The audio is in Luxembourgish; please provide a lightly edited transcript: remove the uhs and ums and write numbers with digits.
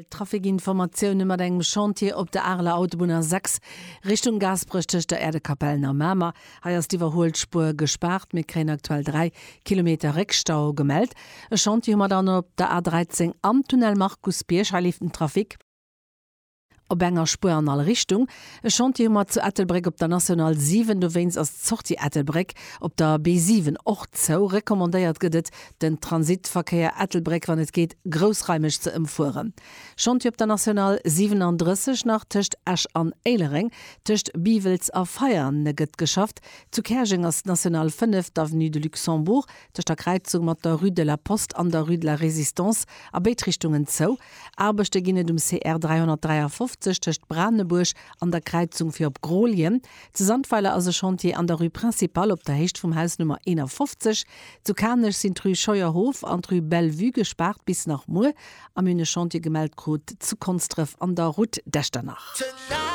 Trafikinformatioune mat engem Chantier op der Areler Autobunn A6 Richtung Gaasperech tëscht der Äerdekapellen a Mamer. Hei ass d'Iwwerhuelspuer gespaart. Mir kréien aktuell 3 Kilometer Réckstau gemellt. E Chantier hu mer dann op der A13 am Tunnel Markusbierg. Hei leeft den Trafic. Op enger Spuer an all Richtung. E Chantier hu mer zu Ettelbréck op der National 7, dowéinst ass d'Sortie Ettelbréck op der B7 och zou. Recommandéiert gëtt et, den Transitverkéier Ettelbréck, wann et geet, groussraimeg ze ëmfueren. Chantier op der National 37 nach tëscht Esch an Éilereng, tëscht Biwels a Veianen gëtt geschafft. Zu Käerjeng ass d'National 5, d'Avenue de Luxembourg, tëscht der Kräizung mat der Rue de la Poste an der Rue de la Résistance a béid Richtungen zou. Aarbechte ginn et um CR 353 tëscht Branebuerg an der Kräizung fir op Grooljen. Zu Sandweiler ass e Chantier an der Rue Principale op der Héicht vum Haus Nummer 51. Zu Kanech sinn d'Rue Scheuerhof an d'Rue Bellevue gespaart bis nach muer. A mir hunn e Chantier gemellt krut zu Konsdref an der Route d'Echternach.